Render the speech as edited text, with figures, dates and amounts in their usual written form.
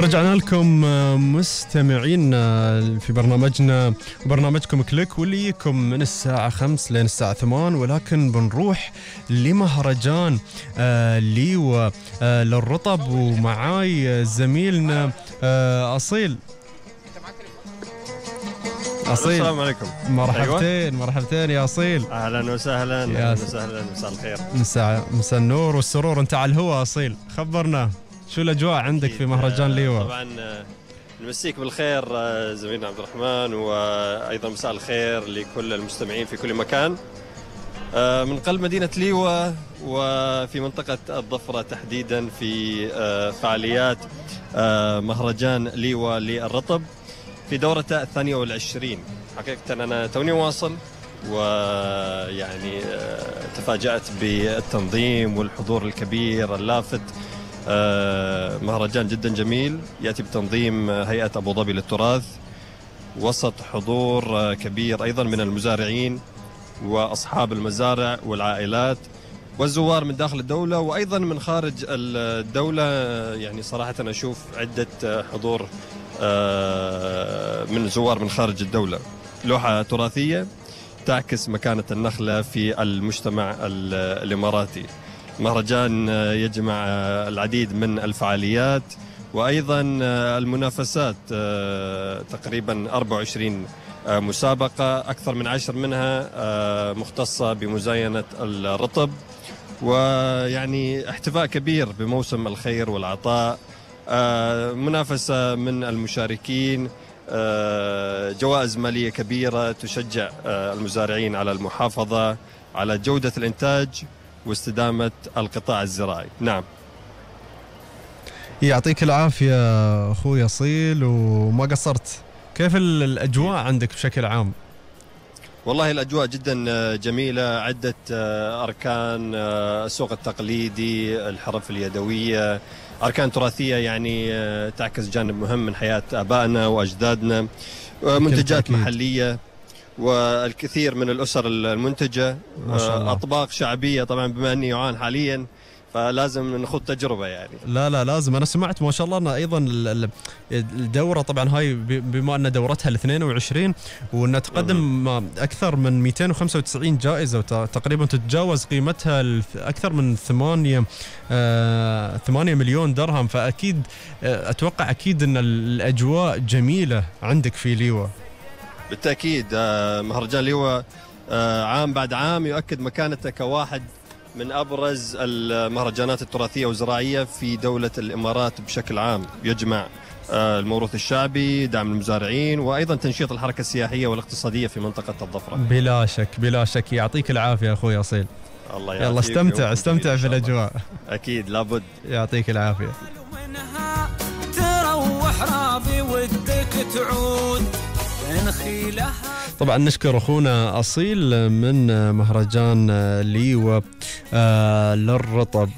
رجعنا لكم مستمعين في برنامجنا وبرنامجكم كليك واللي يجيكم من الساعة 5 لين الساعة 8، ولكن بنروح لمهرجان ليوة للرطب، ومعاي زميلنا أصيل. السلام عليكم. مرحبتين. أيوة. مرحبتين يا أصيل. أهلا وسهلا. أهلا وسهلا. مساء الخير. مساء النور والسرور. أنت على الهواء أصيل، خبرنا شو الأجواء عندك في مهرجان ليوة؟ طبعا نمسيك بالخير زميلنا عبد الرحمن، وأيضا مساء الخير لكل المستمعين في كل مكان. من قلب مدينة ليوة وفي منطقة الضفرة تحديدا، في فعاليات مهرجان ليوة للرطب في دورته 22. حقيقة أنا توني واصل، ويعني تفاجأت بالتنظيم والحضور الكبير اللافت. مهرجان جدا جميل يأتي بتنظيم هيئة أبو ظبي للتراث، وسط حضور كبير أيضا من المزارعين وأصحاب المزارع والعائلات والزوار من داخل الدولة وأيضا من خارج الدولة. يعني صراحة أنا أشوف عدة حضور من زوار من خارج الدولة. لوحة تراثية تعكس مكانة النخلة في المجتمع الإماراتي. مهرجان يجمع العديد من الفعاليات وأيضا المنافسات، تقريبا 24 مسابقة، أكثر من 10 منها مختصة بمزاينة الرطب، ويعني احتفاء كبير بموسم الخير والعطاء. منافسة من المشاركين، جوائز مالية كبيرة تشجع المزارعين على المحافظة على جودة الإنتاج واستدامة القطاع الزراعي. نعم. يعطيك العافية أخوي أصيل، وما قصرت. كيف الأجواء عندك بشكل عام؟ والله الأجواء جدا جميلة. عدة أركان، السوق التقليدي، الحرف اليدوية، أركان تراثية يعني تعكس جانب مهم من حياة آبائنا وأجدادنا، منتجات محلية والكثير من الأسر المنتجة، أطباق شعبية. طبعا بما أني يعان حاليا فلازم نخوض تجربة يعني. لا لازم. أنا سمعت ما شاء الله أن أيضا الدورة، طبعا هاي بما أن دورتها 22 وأنها تقدم أكثر من 295 جائزة، وتقريبا تتجاوز قيمتها أكثر من 8 مليون درهم. فأكيد أتوقع أكيد أن الأجواء جميلة عندك في ليوة. بالتأكيد مهرجان ليوة عام بعد عام يؤكد مكانته كواحد من أبرز المهرجانات التراثية والزراعية في دولة الإمارات بشكل عام. يجمع الموروث الشعبي، دعم المزارعين، وأيضا تنشيط الحركة السياحية والاقتصادية في منطقة الضفرة. بلا شك بلا شك. يعطيك العافية أخوي أصيل. الله يعافيك. يلا استمتع في الأجواء. أكيد لابد. يعطيك العافية. تروح راضي ودك تعود. طبعا نشكر أخونا أصيل من مهرجان ليوة للرطب.